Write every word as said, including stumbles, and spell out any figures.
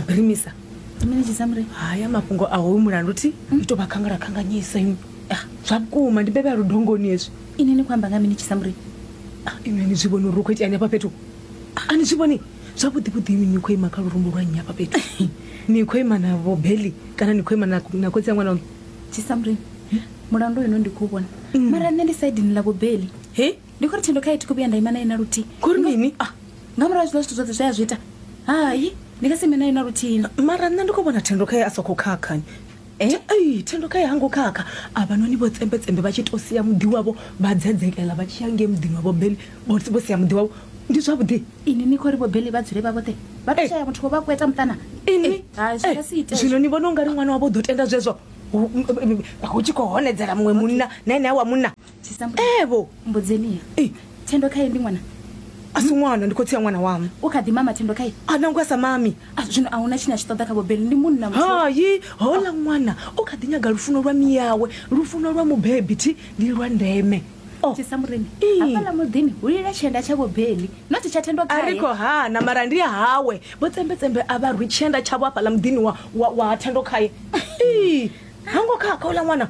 birimisa. Ndi mini, Tshisamureni? Haya mafhungo a hoyu mulandu thi i tou vha khangala khanganyisa inwi. Zwa vhukuma ndi bebe ya ludongoni hezwi. Ini ni khou amba nga mini, Tshisamureni? Ah, inwi ni zwi vhoni uri hu khou itea ni hafha fhethu? A ni zwi vhoni zwavhuḓi vhuḓi? Inwi ni khou ima kha lurumbu lwa nnyi hafha fhethu? Ni khou ima na vhobeli kana ni khou ima na na khotsi ya ṅwana waṋu? Tshisamureni, mulandu uyu no ndi khou vhona, mara nṋe ndi saidini ḽa vhobeli. He? Ndi khou ri Thendo khae thi khou vhuya nda ima naye na luthihi. Khori mini? Ah, nga murahu ha zwiḽa zwithu zwoṱhe zwe a zwi ita, hai, ndi nga si ime naye na luthihi. Mara nṋe ndi khou vhona Thendo khae a sa khou khakhani. Ei, Thendo khae hango khakha. Avhanoni vho tsembetsembe vha tshi to sia muḓi wavho vha dzedzekela vha tshi ya ngei muḓini wa vhobeli, vho vho sia muḓi wavho, ndi zwavhuḓi? Ini ni khou ri vhobeli vha dzule vha vhoṱhe, vha to Eh. shaya muthu wo vha kweta muṱana? Ini Eh, hai, zwi nga si ite. Zwino ni vhona ungari ṅwana wavho u ḓo tenda zwezwo hu hu tshi khou honedzela muṅwe munna na ene a wa munna? Tshisamureni, Evo. mbudzeniya. Eh. Thendo khae ndi ṅwana? A si ṅwana, ndi khotsi ya ṅwana waṋu. U kha ḓi mama Thendo khae? A nangwe a sa mami. Ah, zwino a huna tshine a tshi ṱoḓa kha vhobeli, ndi munna muthu. Hayi, hola ṅwana u kha ḓi nyaga lufuno lwa miyawe. Lufuno lwa mubebi thi ndi lwa ndeme. Oh. Tshisamureni, Ii. hafhaḽa muḓini hu lila tshienda tsha vhobeli, not tsha Thendo A khae. ri khou hana, mara ndi hawe. Vho tsembetsembe a vha rwi tshienda tshavho hafhaḽa muḓini wa, wa, wa Thendo khaye. Ii, hango khakha uḽa ṅwana.